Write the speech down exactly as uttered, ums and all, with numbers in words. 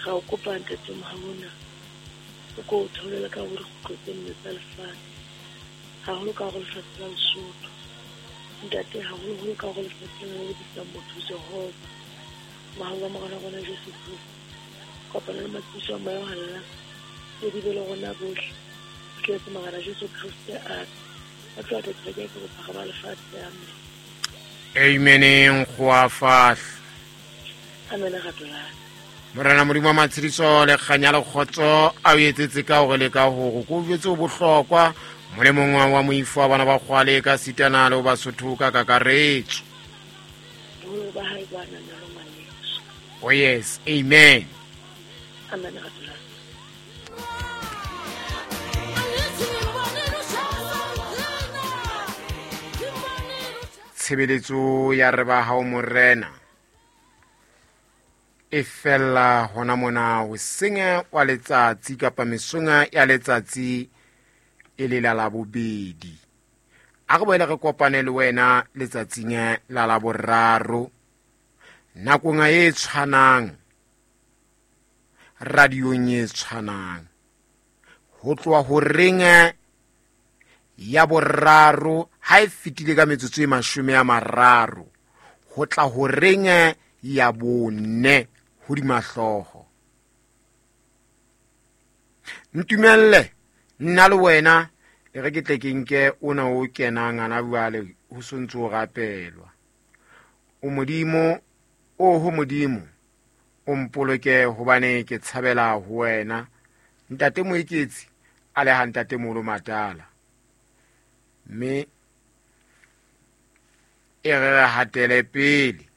Ra o kopa ntate Mohauna, o ko o theolele ka ho dikgutlo tse nne tsa lefatshe, haholo ka hore lefatshe la Lesotho. Ntate, haholoholo ka hore lefatshe lena le bitsang motho Jehova, mohau wa Morena wa rona Jesu Kreste, kopano le matshediso a Moya o Halalelang, tse di be le rona bohle, ho tletse Morena Jesu Kreste a a tloha kereke ke bophara ba lefatshe. Amen. Ameneng go a fahla. Amen ratolane. Morena Modimo wa matshediso le kganya le kgotso a o etsetse ka hore le ka hore ko jwetse o bohlokwa molemong wa moifo wa bana ba kgwale ka sitana le ho Basotho ka kakaretso. Boholo ba hae bo ananelo ngwaneso. Oh yes, amen. Amen ratolane. Tshebeletso ya re ba hao Morena e fella hona mona hoseng wa letsatsi kapa mesong ya letsatsi e le la labobedi. A re boele re kopane le wena letsatsing la laboraro nakong e tshwanang, radiong e tshwanang, ho tloha horeng ya boraro ha e fetile ka metsotso e mashome a mararo ho tla horeng ya bone hodima hlooho. Ntumelle nna le wena e re ke tle ke nke ona o kenang ana jwale ho sontso o rapelwa. O Modimo, o ho Modimo, o mpoloke hobane ke tshabela ho wena. Ntate Moeketsi a le ha Ntate Molo Matala. Mme e re re hatele pele.